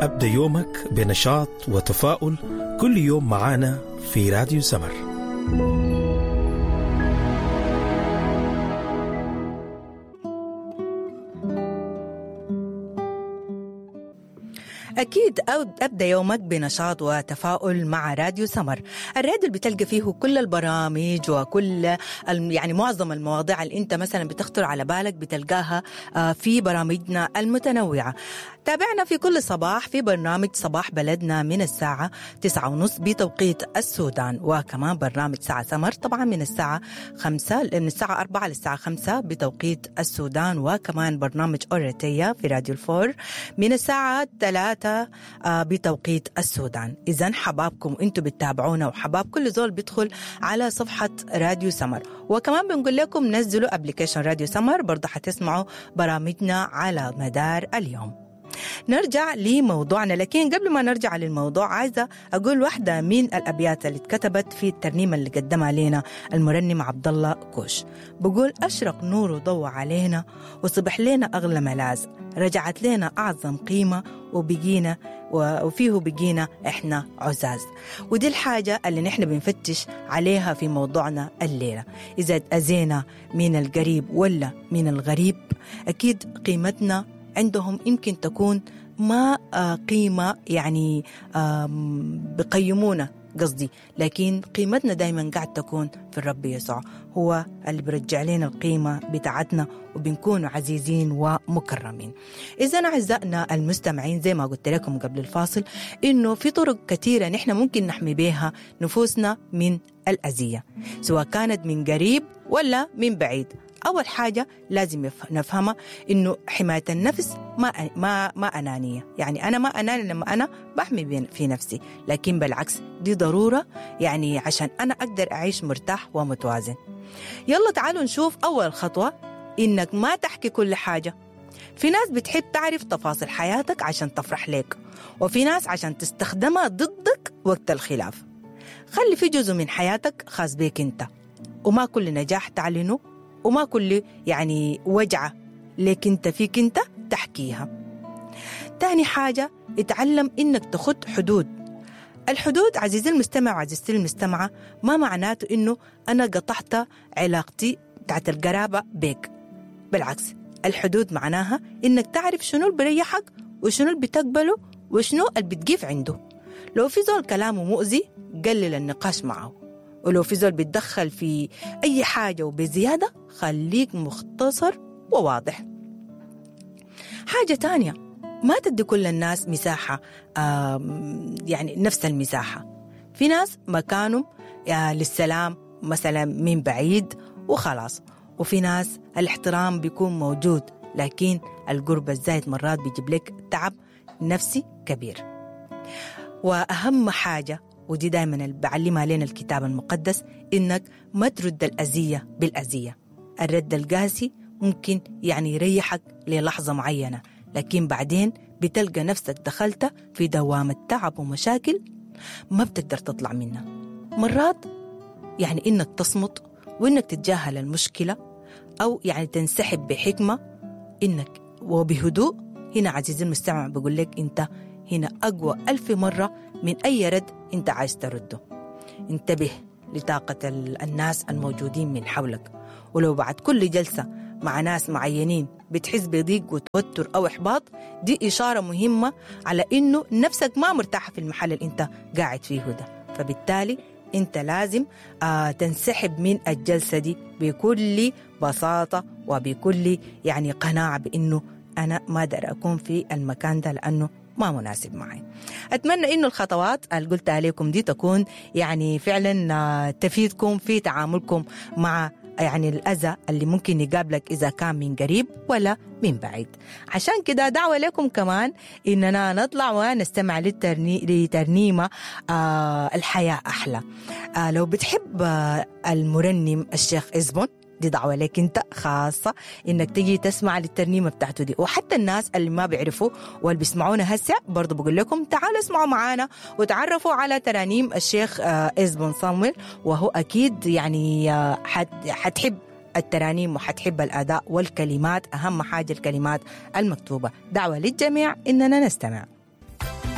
أبدأ يومك بنشاط وتفاؤل كل يوم معانا في راديو سمر. أكيد أبدأ يومك بنشاط وتفاؤل مع راديو سمر، الراديو اللي بتلقى فيه كل البرامج وكل يعني معظم المواضيع اللي أنت مثلا بتخطر على بالك بتلقاها في برامجنا المتنوعة. تابعنا في كل صباح في برنامج صباح بلدنا من الساعة 9:30 بتوقيت السودان، وكمان برنامج ساعة سمر طبعا من الساعة 5، من الساعة 4 للساعة 5 بتوقيت السودان، وكمان برنامج أوريتيا في راديو الفور من الساعة 3 بتوقيت السودان. إذن حبابكم أنتوا بتتابعونا، وحباب كل زول بيدخل على صفحة راديو سمر، وكمان بنقول لكم نزلوا application راديو سمر، برضه حتسمعوا برامجنا على مدار اليوم. نرجع لموضوعنا، لكن قبل ما نرجع للموضوع عايزة أقول واحدة من الأبيات اللي اتكتبت في الترنيمة اللي قدمها لنا المرنم عبد الله كوش. بقول: أشرق نور وضوء علينا وصبح لنا أغلى ملاذ، رجعت لنا أعظم قيمة وبقينا وفيه بقينا إحنا عزاز. ودي الحاجة اللي نحن بنفتش عليها في موضوعنا الليلة. إذا اتأذينا من القريب ولا من الغريب، أكيد قيمتنا عندهم يمكن تكون ما قيمة، يعني بقيمونا قصدي، لكن قيمتنا دايما قاعد تكون في الرب يسوع، هو اللي برجع لنا القيمة بتاعتنا وبنكون عزيزين ومكرمين. إذا أعزائنا المستمعين، زي ما قلت لكم قبل الفاصل إنه في طرق كثيرة نحن ممكن نحمي بها نفوسنا من الأذية، سواء كانت من قريب ولا من بعيد. أول حاجة لازم نفهمها إنه حماية النفس ما أنانية، يعني أنا ما أناني لما أنا بحمي في نفسي، لكن بالعكس دي ضرورة، يعني عشان أنا أقدر أعيش مرتاح ومتوازن. يلا تعالوا نشوف أول خطوة، إنك ما تحكي كل حاجة. في ناس بتحب تعرف تفاصيل حياتك عشان تفرح لك، وفي ناس عشان تستخدمها ضدك وقت الخلاف. خلي في جزء من حياتك خاص بيك أنت، وما كل نجاح تعلنه وما كل يعني وجعة لك انت فيك انت تحكيها. تاني حاجة، اتعلم انك تخط حدود. الحدود عزيزي المستمع وعزيزتي المستمعة ما معناته انه انا قطعت علاقتي بتاعت القرابة بيك، بالعكس الحدود معناها انك تعرف شنو اللي بريحك وشنو اللي بتقبله وشنو اللي بتقيف عنده. لو في زول كلامه مؤذي قلل النقاش معه، ولو في زول بيتدخل في أي حاجة وبزيادة خليك مختصر وواضح. حاجة تانية، ما تدي كل الناس مساحة، يعني نفس المساحة. في ناس مكانهم للسلام مثلا من بعيد وخلاص، وفي ناس الاحترام بيكون موجود، لكن القرب الزايد مرات بيجيب لك تعب نفسي كبير. وأهم حاجة، ودي دايما اللي بعلمها لنا الكتاب المقدس، إنك ما ترد الأذية بالأذية. الرد القاسي ممكن يعني يريحك للحظة معينة، لكن بعدين بتلقى نفسك دخلت في دوامة تعب ومشاكل ما بتقدر تطلع منها. مرات يعني إنك تصمت وإنك تتجاهل المشكلة، أو يعني تنسحب بحكمة إنك وبهدوء. هنا عزيزي المستمع بقول لك أنت هنا أقوى 1000 مرة من أي رد أنت عايز ترده. انتبه لطاقة الناس الموجودين من حولك، ولو بعد كل جلسة مع ناس معينين بتحس بضيق وتوتر أو إحباط، دي إشارة مهمة على إنه نفسك ما مرتاحة في المحل اللي أنت قاعد فيه ده، فبالتالي أنت لازم تنسحب من الجلسة دي بكل بساطة وبكل يعني قناعة بإنه أنا ما أقدر أكون في المكان ده لأنه ما مناسب معي. أتمنى إنه الخطوات اللي قلتها عليكم دي تكون يعني فعلا تفيدكم في تعاملكم مع يعني الأذى اللي ممكن يقابلك إذا كان من قريب ولا من بعيد. عشان كده دعوة لكم كمان إننا نطلع ونستمع لترنيمة الحياة أحلى. لو بتحب المرنم الشيخ إزبون، دي دعوة لك انت خاصة انك تجي تسمع للترنيمة بتاعته دي، وحتى الناس اللي ما بيعرفوا واللي بيسمعونا هسه برضو بقول لكم تعالوا اسمعوا معانا وتعرفوا على ترانيم الشيخ إزبون صامويل، وهو أكيد يعني حتحب الترانيم وحتحب الأداء والكلمات، أهم حاجة الكلمات المكتوبة. دعوة للجميع إننا نستمع.